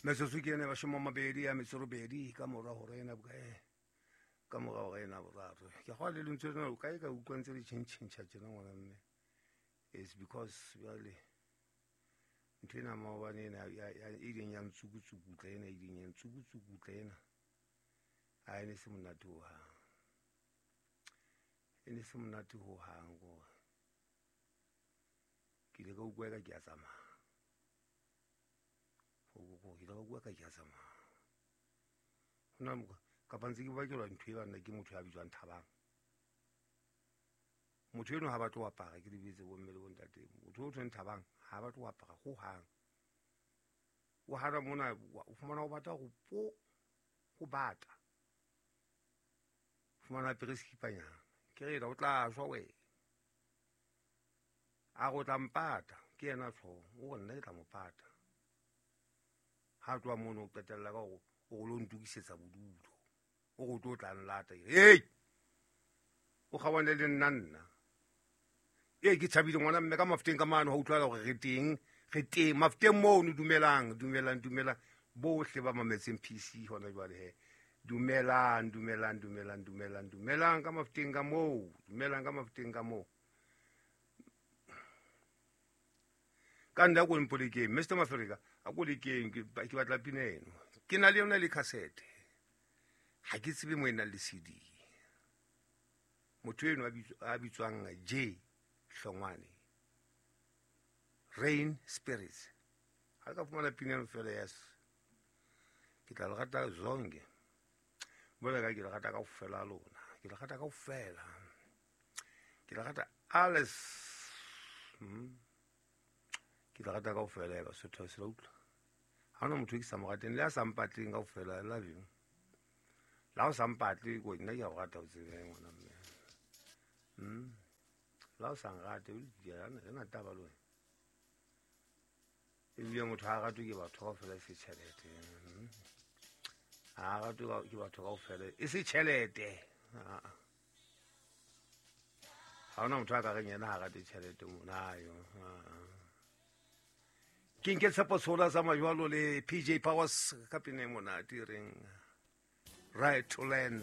Metsotso ke ena 28 ka mora hora ena bokae, ka mora hora ena boraro. Ke kgwa le lentswe lena o kae ka utlwa ntse le tjhentjhentjha tjena ngwana mme. It's because jwale ntho ena maobane ena e ileng ya ntsukutsukutla ena, e ileng ya ntsukutsukutla ena, ha e ne se monate hohang. E ne se monate hohang kore ke ile ka utlwa eka ke a tsamaya. Ke ile ka utlwa eka ke a tsamaya. Hona kapa ntse ke bakelwa ntho e banna ke motho ya bitswang Thabang. Motho eno ha batle ho apara, ke lebetse bomme le bontate. Motho o thweng Thabang ha batle ho apara hohang. O hana mona, o fumana o bata ho po, ho bata. O fumana apere sekipanyana. Ke re o tla shwa wena. A re o tla mpata, ke yena tjho, o re nna ke tla mo pata. Ha tloha mono o qetella ka hore o lo ntokisetsa bodulo. O re o tlo tla nlata. Hey! O kgawane le nna nna. Ee, ke thabile ngwana mme ka Mafuteng ka mane, ha utlwala hore re teng, re teng Mafuteng mono. Dumelang, dumelang, dumelang bohle ba mametseng PC hona jwale he. Dumelang, dumelang, dumelang, dumelang, dumelang ka Mafuteng ka moo, dumelang ka Mafuteng ka moo. Ka nna ko mpolekeng Mr Mafereka, a ko lekeng, ke batla pina eno. Ke na le yona le cassette, ha ke tsebe mo e nang le CD. Motho eno a bitswang J Hlongwane, Rain Spirits. Ha ka fumana pina eno fela, yes, ke tla le rata zonke. Bona ka ke le rata kaofela lona, ke le rata kaofela, ke le rata alles. Ke le rata kaofela ya Basotho, se la utlwa. Ha hona motho e ke sa mo rateng, le a sa mpatleng kaofela, I love you. La o sa mpatle, ko nna ke a o rata, o tsebe ngwana mme. La o sa nrate, re na taba le wena. Ebile motho ha ratwe ke batho kaofela e se tjhelete. Ha ratwe ke batho kaofela e se tjhelete. Ha hona motho a ka reng yena ha rate tjhelete mona yo. Ke nke Tshepo Tshola sa majwalo le PJ Powers ka pina e monate e reng Right to Learn.